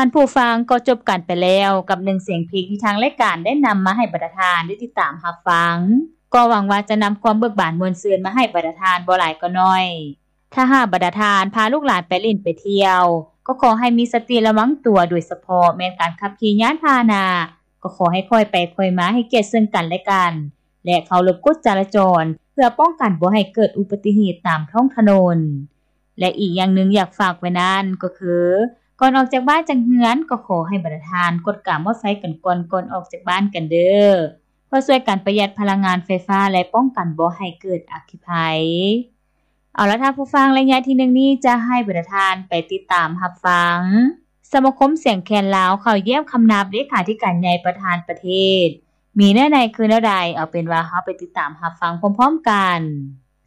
ທ່ານຜູ້ຟັງ ກໍຈົບກັນໄປແລ້ວກັບໜຶ່ງສຽງເພງທີ່ທາງລາຍການໄດ້ນຳມາໃຫ້ບັນດາທ່ານໄດ້ຕິດຕາມຮັບຟັງ. ກໍຫວັງວ່າຈະນຳຄວາມເບີກບານມ່ວນຊື່ນມາໃຫ້ບັນດາທ່ານບໍ່ຫຼາຍກໍໜ້ອຍ. ຖ້າຫາກບັນດາທ່ານພາລູກຫຼານໄປຫຼິ້ນໄປທ່ຽວ ກໍຂໍໃຫ້ມີສະຕິລະວັງຕົວ, ໂດຍສະເພາະແມ່ນການຂັບຂີ່ຍານພາຫະນະ ກໍຂໍໃຫ້ຄ່ອຍໄປຄ່ອຍມາ, ໃຫ້ກຽດເຊິ່ງກັນແລະກັນ ແລະ ເຄົາລົບກົດຈະລາຈອນ ເພື່ອປ້ອງກັນບໍ່ໃຫ້ເກີດອຸບັດຕິເຫດຕາມທ້ອງຖະໜົນ. ແລະ ອີກຢ່າງໜຶ່ງຢາກຝາກໄວ້ນັ້ນກໍຄື ກ່ອນອອກຈາກບ້ານຈາກເຮືອນ ກໍຂໍໃຫ້ບັນດາທ່ານກວດກາມອດໄຟກັນກ່ອນ ກ່ອນອອກຈາກບ້ານກັນເດີ້ ເພື່ອຊ່ວຍກັນປະຢັດພະລັງງານໄຟຟ້າ ແລະ ປ້ອງກັນບໍ່ໃຫ້ເກີດອັກຄີໄພ. ເອົາລະທ່ານຜູ້ຟັງ, ໄລຍະທີໜຶ່ງນີ້ຈະໃຫ້ບັນດາທ່ານໄປຕິດຕາມຮັບຟັງ ສະມາຄົມສຽງແຄນລາວເຂົ້າຢ້ຽມຄຳນັບເລຂາທິການໃຫຍ່ປະທານປະເທດ ມີເນື້ອໃນຄືແນວໃດ, ເອົາເປັນວ່າເຮົາໄປຕິດຕາມຮັບຟັງພ້ອມໆກັນ.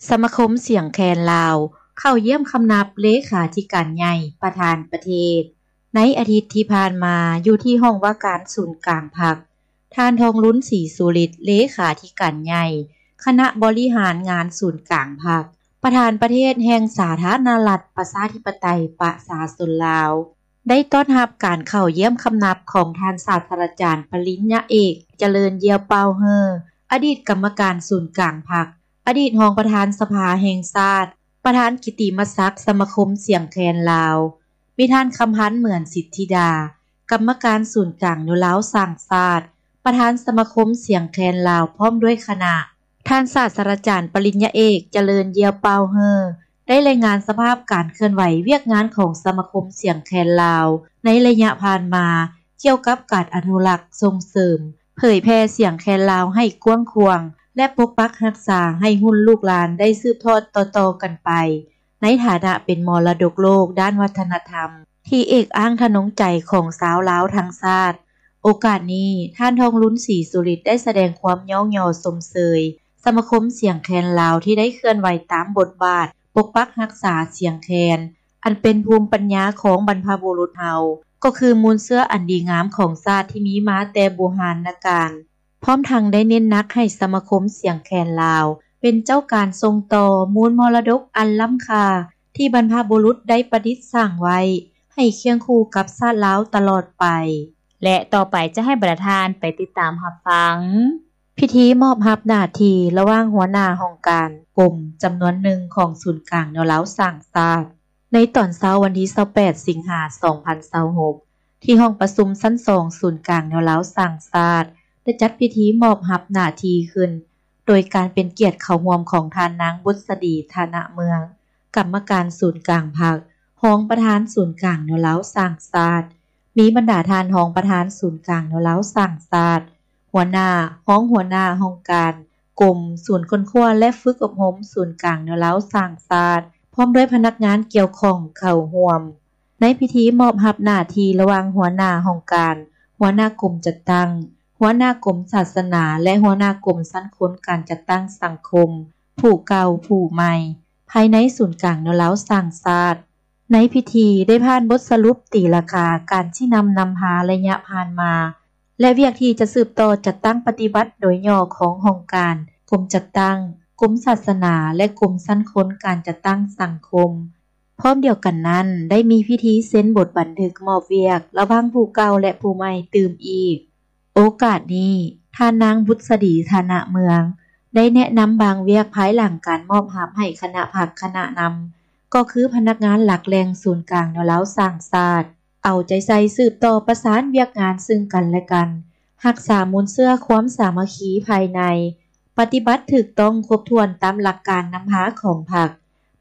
ສະມາຄົມສຽງແຄນລາວເຂົ້າຢ້ຽມຄຳນັບເລຂາທິການໃຫຍ່ປະທານປະເທດ ໃນອາທິດທີ່ຜ່ານມາ ຢູ່ທີ່ຫ້ອງວ່າການສູນກາງພັກ, ທ່ານ ທອງລຸນ ສີສຸລິດ ເລຂາທິການໃຫຍ່ຄະນະບໍລິຫານງານສູນກາງພັກ, ປະທານປະເທດແຫ່ງສາທາລະນະລັດ ປະຊາທິປະໄຕ ປະຊາຊົນລາວ ໄດ້ຕ້ອນຮັບການເຂົ້າຢ້ຽມຄຳນັບຂອງທ່ານສາດສະດາຈານປະລິນຍາເອກ ຈະເລີນ ຢ້ຽວເປົ້າເຮີ ອະດີດກຳມະການສູນກາງພັກ, ອະດີດຮອງປະທານສະພາແຫ່ງຊາດ, ປະທານກິດຕິມະສັກສະມາຄົມສຽງແຄນລາວ, ມີທ່ານ ຄຳພັນ ເໝືອນສິດທິດາ ກຳມະການສູນກາງແນວລາວສ້າງຊາດ, ປະທານສະມາຄົມສຽງແຄນລາວ ພ້ອມດ້ວຍຄະນະ. ທ່ານສາດສະດາຈານປະລິນຍາເອກ ຈະເລີນ ຢ້ຽວເປົ້າເຮີ ໄດ້ລາຍງານສະພາບການເຄື່ອນໄຫວວຽກງານຂອງສະມາຄົມສຽງແຄນລາວ ໃນໄລຍະຜ່ານມາ ກ່ຽວກັບການອະນຸລັກ, ສົ່ງເສີມ, ເຜີຍແຜ່ສຽງແຄນລາວໃຫ້ກວ້າງຂວາງ ແລະ ປົກປັກຮັກສາໃຫ້ຮຸ່ນລູກຫຼານໄດ້ສືບທອດຕໍ່ໆກັນໄປ ໃນຖານະເປັນມໍລະດົກໂລກດ້ານວັດທະນະທຳ ທີ່ເອກອ້າງທະນົງໃຈຂອງຊາວລາວທັງຊາດ. ໂອກາດນີ້, ທ່ານ ທອງລຸນ ສີສຸລິດ ໄດ້ສະແດງຄວາມຍ້ອງຍໍຊົມເຊີຍສະມາຄົມສຽງແຄນລາວ ທີ່ໄດ້ເຄື່ອນໄຫວຕາມບົດບາດປົກປັກຮັກສາສຽງແຄນ ອັນເປັນພູມປັນຍາຂອງບັນພະບຸລຸດເຮົາ, ກໍຄືມູນເຊື້ອອັນດີງາມຂອງຊາດທີ່ມີມາແຕ່ບູຮານນະການ. ພ້ອມທັງໄດ້ເນັ້ນໜັກໃຫ້ສະມາຄົມສຽງແຄນລາວ ເປັນເຈົ້າການສົ່ງຕໍ່ມູນມໍລະດົກອັນລ້ຳຄ່າ ທີ່ບັນພະບຸລຸດໄດ້ປະດິດສ້າງໄວ້ ໃຫ້ຄຽງຄູ່ກັບຊາດລາວຕະຫຼອດໄປ. ແລະ ຕໍ່ໄປຈະໃຫ້ບັນດາທ່ານໄປຕິດຕາມຮັບຟັງ ພິທີມອບຮັບໜ້າທີ່ລະຫວ່າງຫົວໜ້າຫ້ອງການກົມຈຳນວນໜຶ່ງຂອງສູນກາງແນວລາວສ້າງຊາດ ໃນຕອນເຊົ້າວັນທີຊາວແປດ ສິງຫາ ສອງພັນຊາວຫົກ ທີ່ຫ້ອງປະຊຸມຊັ້ນສອງສູນກາງແນວລາວສ້າງຊາດ ໄດ້ຈັດພິທີມອບຮັບໜ້າທີ່ຂຶ້ນ ໂດຍການເປັນກຽດເຂົ້າຮ່ວມຂອງທ່ານນາງ ບຸດສະດີ ທະນະເມືອງ ກຳມະການສູນກາງພັກ, ຮອງປະທານສູນກາງແນວລາວສ້າງຊາດ, ມີບັນດາທ່ານຮອງປະທານສູນກາງແນວລາວສ້າງຊາດ, ຫົວໜ້າ, ຮອງຫົວໜ້າຫ້ອງການ, ກົມ, ສູນຄົ້ນຄວ້າ ແລະ ຝຶກອົບຮົມສູນກາງແນວລາວສ້າງຊາດ ພ້ອມດ້ວຍພະນັກງານກ່ຽວຂ້ອງເຂົ້າຮ່ວມ. ໃນພິທີມອບຮັບໜ້າທີ່ລະຫວ່າງຫົວໜ້າຫ້ອງການ, ຫົວໜ້າກົມຈັດຕັ້ງ, ຫົວໜ້າກົມສາສະໜາ ແລະ ຫົວໜ້າກົມຊັ້ນຄົນການຈັດຕັ້ງສັງຄົມ ຜູ້ເກົ່າຜູ້ໃໝ່ ພາຍໃນສູນກາງແນວລາວສ້າງຊາດ. ໃນພິທີໄດ້ຜ່ານບົດສະຫຼຸບຕີລາຄາການຊີ້ນຳນຳພາໄລຍະຜ່ານມາ ແລະ ວຽກທີ່ຈະສືບຕໍ່ຈັດຕັ້ງປະຕິບັດໂດຍຫຍໍ້ຂອງຫ້ອງການ, ກົມຈັດຕັ້ງ, ກົມສາສະໜາ ແລະ ກົມຊັ້ນຄົນການຈັດຕັ້ງສັງຄົມ. ພ້ອມດຽວກັນນັ້ນ ໄດ້ມີພິທີເຊັນບົດບັນທຶກມອບວຽກລະຫວ່າງຜູ້ເກົ່າ ແລະ ຜູ້ໃໝ່ຕື່ມອີກ. ໂອກາດນີ້ ທ່ານນາງ ບຸດສະດີ ທະນະເມືອງ ໄດ້ແນະນຳບາງວຽກພາຍຫຼັງການມອບຮັບໃຫ້ຄະນະພັກຄະນະນຳ ກໍຄືພະນັກງານຫຼັກແຫຼ່ງສູນກາງແນວລາວສ້າງຊາດ ເອົາໃຈໃສ່ສືບຕໍ່ປະສານວຽກງານເຊິ່ງກັນແລະກັນ, ຮັກສາມູນເຊື້ອຄວາມສາມັກຄີພາຍໃນ, ປະຕິບັດຖືກຕ້ອງຄົບຖ້ວນຕາມຫຼັກການນຳພາຂອງພັກ,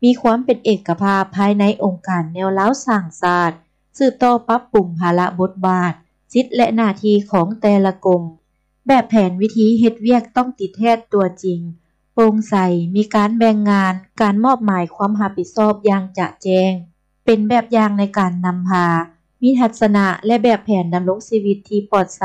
ມີຄວາມເປັນເອກະພາບພາຍໃນອົງການແນວລາວສ້າງຊາດ, ສືບຕໍ່ປັບປຸງພາລະບົດບາດ, ສິດ ແລະ ໜ້າທີ່ຂອງແຕ່ລະກົມ. ແບບແຜນວິທີເຮັດວຽກຕ້ອງຕິດແທດຕົວຈິງ, ໂປ່ງໃສ, ມີການແບ່ງງານ, ການມອບໝາຍຄວາມຮັບຜິດຊອບຢ່າງຈະແຈ້ງ, ເປັນແບບຢ່າງໃນການນຳພາ, ມີທັດສະນະ ແລະ ແບບແຜນດຳລົງຊີວິດທີ່ປອດໃສ,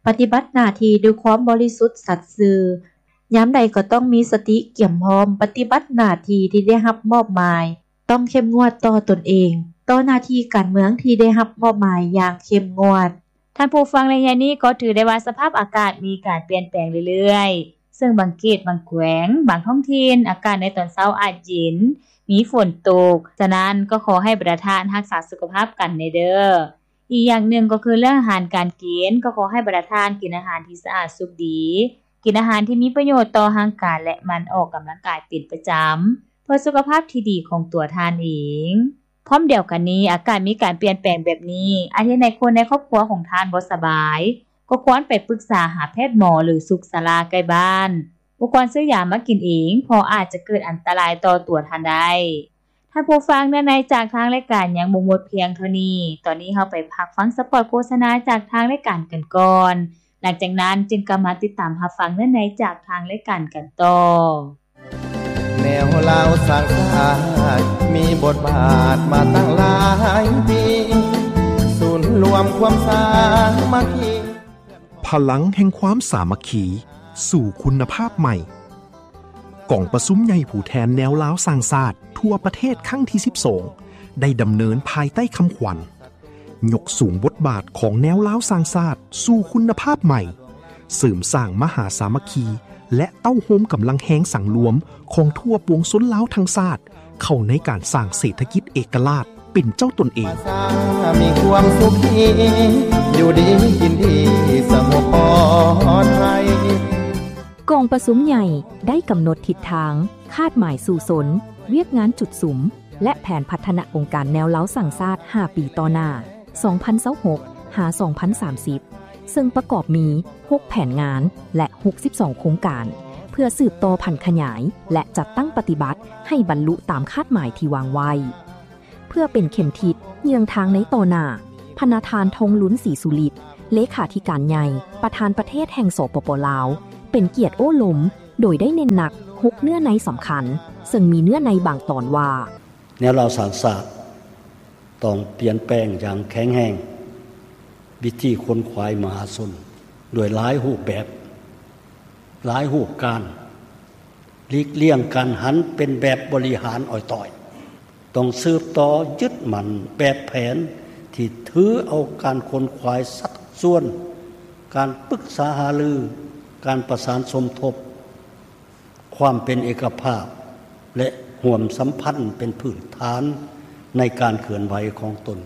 ປະຕິບັດໜ້າທີ່ດ້ວຍຄວາມບໍລິສຸດສັດຊື່, ຍາມໃດກໍຕ້ອງມີສະຕິກຽມພ້ອມປະຕິບັດໜ້າທີ່ທີ່ໄດ້ຮັບມອບໝາຍ, ຕ້ອງເຂັ້ມງວດຕໍ່ຕົນເອງ, ຕໍ່ໜ້າທີ່ການເມືອງທີ່ໄດ້ຮັບມອບໝາຍຢ່າງເຂັ້ມງວດ. ທ່ານຜູ້ຟັງ, ໄລຍະນີ້ກໍຖືໄດ້ວ່າສະພາບອາກາດມີການປ່ຽນແປງເລື້ອຍໆ, ເຊິ່ງບາງເຂດ, ບາງແຂວງ, ບາງທ້ອງຖິ່ນ ອາກາດໃນຕອນເຊົ້າອາດເຢັນ, ມີຝົນຕົກ. ສະນັ້ນກໍຂໍໃຫ້ບັນດາທ່ານຮັກສາສຸຂະພາບກັນແດ່ເດີ້. ອີກຢ່າງໜຶ່ງກໍຄືເລື່ອງອາຫານການກິນ ກໍຂໍໃຫ້ບັນດາທ່ານກິນອາຫານທີ່ສະອາດສຸກດີ, ກິນອາຫານທີ່ມີປະໂຫຍດຕໍ່ຮ່າງກາຍ ແລະ ໝັ່ນອອກກຳລັງກາຍເປັນປະຈຳ ເພື່ອສຸຂະພາບທີ່ດີຂອງຕົວທ່ານເອງ. ພ້ອມດຽວກັນນີ້, ອາກາດມີການປ່ຽນແປງແບບນີ້ ອາດເຮັດໃຫ້ຄົນໃນຄອບຄົວຂອງທ່ານບໍ່ສະບາຍ, ກໍຄວນໄປປຶກສາຫາແພດໝໍ ຫຼື ສຸກສາລາໃກ້ບ້ານ. ບໍ່ຄວນຊື້ຢາມາກິນເອງ, ເພາະອາດຈະເກີດອັນຕະລາຍຕໍ່ຕົວທ່ານໄດ້. ທ່ານຜູ້ຟັງ, ເນື້ອໃນຈາກທາງລາຍການຍັງບໍ່ໝົດພຽງເທົ່ານີ້. ຕອນນີ້ເຮົາໄປພັກຟັງສະປອດໂຄສະນາຈາກທາງລາຍການກັນກ່ອນ. ຫຼັງຈາກນັ້ນຈຶ່ງກັບມາຕິດຕາມຮັບຟັງເນື້ອໃນຈາກທາງລາຍການກັນຕໍ່. ແນວລາວສ້າງຊາດມີບົດບາດມາຕັ້ງຫຼາຍປີ ສູນລວມຄວາມສາມັກຄີ ພະລັງແຫ່ງຄວາມສາມັກຄີ ສູ່ຄຸນນະພາບໃໝ່. ກອງປະຊຸມໃຫຍ່ຜູ້ແທນແນວລາວສ້າງຊາດທົ່ວປະເທດຄັ້ງທີສິບສອງ ໄດ້ດຳເນີນພາຍໃຕ້ຄຳຂວັນ ຍົກສູງບົດບາດຂອງແນວລາວສ້າງຊາດສູ່ຄຸນນະພາບໃໝ່, ເສີມສ້າງມະຫາສາມັກຄີ ແລະ ເຕົ້າໂຮມກຳລັງແຮງສັງລວມຂອງທົ່ວປວງຊົນລາວທັງຊາດ ເຂົ້າໃນການສ້າງເສດຖະກິດເອກະລາດເປັນເຈົ້າຕົນເອງ. ມີຄວາມສຸກດີ ຢູ່ດີກິນດີ ສະຫງົບປອດໄພ. ກອງປະຊຸມໃຫຍ່ໄດ້ກຳນົດທິດທາງ, ຄາດໝາຍສູ້ຊົນ, ວຽກງານຈຸດສຸມ ແລະ ແຜນພັດທະນາອົງການແນວລາວສ້າງຊາດຫ້າປີຕໍ່ໜ້າ ສອງພັນຊາວຫົກ ຫາ ສອງພັນສາມສິບ ເຊິ່ງປະກອບມີຫົກແຜນງານ ແລະ ຫົກສິບສອງໂຄງການ ເພື່ອສືບຕໍ່ຜັນຂະຫຍາຍ ແລະ ຈັດຕັ້ງປະຕິບັດໃຫ້ບັນລຸຕາມຄາດໝາຍທີ່ວາງໄວ້. ເພື່ອເປັນເຂັມທິດເຍືອງທາງໃນຕໍ່ໜ້າ, ພະນະທ່ານ ທອງລຸນ ສີສຸລິດ ເລຂາທິການໃຫຍ່ ປະທານປະເທດແຫ່ງ ສປປ ລາວ ເປັນກຽດໂອ້ລົມ ໂດຍໄດ້ເນັ້ນໜັກຫົກເນື້ອໃນສຳຄັນ, ເຊິ່ງມີເນື້ອໃນບາງຕອນວ່າ ແນວລາວສ້າງຊາດຕ້ອງປ່ຽນແປງຢ່າງແຂງແຮງວິທີຂົນຂວາຍມະຫາຊົນດ້ວຍຫຼາຍຮູບແບບ, ຫຼາຍຮູບການ, ຫຼີກລ່ຽງການຫັນເປັນແບບບໍລິຫານອອຍຕ້ອຍ. ຕ້ອງສືບຕໍ່ຍຶດໝັ້ນແບບແຜນທີ່ຖືເອົາການຂົນຂວາຍຊັກຊວນ, ການປຶກສາຫາລື, ການປະສານສົມທົບ, ຄວາມເປັນເອກະພາບ ແລະ ຮ່ວມສຳພັນເປັນພື້ນຖານໃນການເຄື່ອນໄຫວຂອງຕົນ.